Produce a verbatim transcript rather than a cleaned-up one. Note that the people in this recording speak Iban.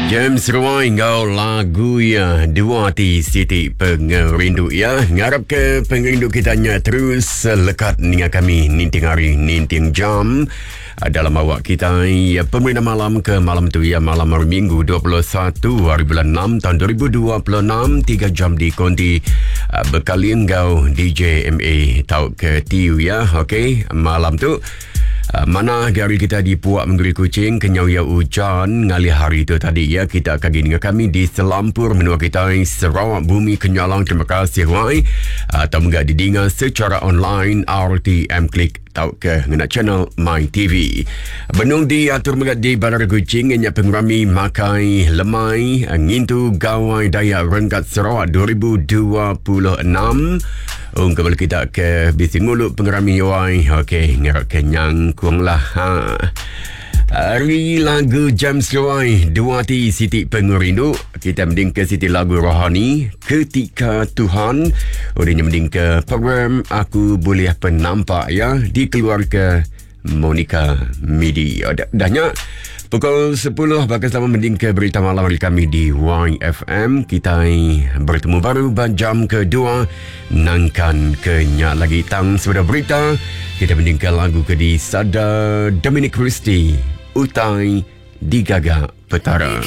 James Ruai enggau lagu ya Dua Ati Siti Pengerindu ya. Ngarap ke pengerindu kita nya terus lekat ninga kami ninting hari, ninting jam dalam awak kita ya, pemerintah malam ke malam tu ya, malam hari Minggu dua puluh satu hari bulan enam tahun dua ribu dua puluh enam, tiga jam di konti bekali enggau D J M A tau ke T U ya. Okey, malam tu mana gari kita di Puak Menggeri Kuching kenyau ya hujan ngalih hari tu tadi ya. Kita akan gini dengan kami di selampur menua kita Sarawak Bumi Kenyalang. Terima kasih wai atau enggak didinga secara online R T M Klik tau ke ngena channel My T V. Benung diatur megat di Bandar Kuching nya pengerami makai lemai ngintu Gawai Dayak Renggat Sarawak dua ribu dua puluh enam. Um, kembali kita ke bisi nguluk pengerami wai. Okey, ngarap ke nyangkung lah. Ha. Hari lagu James Roy, Dua Ati Siti Pengerindu. Kita mending ke siti lagu rohani Ketika Tuhan. Udah mending ke program Aku Boleh Penampak ya, dikeluar ke Monica Midi. Oh, dah, dahnya pukul sepuluh bakal sama mending ke berita malam hari kami di Y F M. Kita bertemu baru jam kedua nangkan kenyak lagi tang sudah berita. Kita mending ke lagu ke di Sada Dominic Christie, Utai Digaga Petara.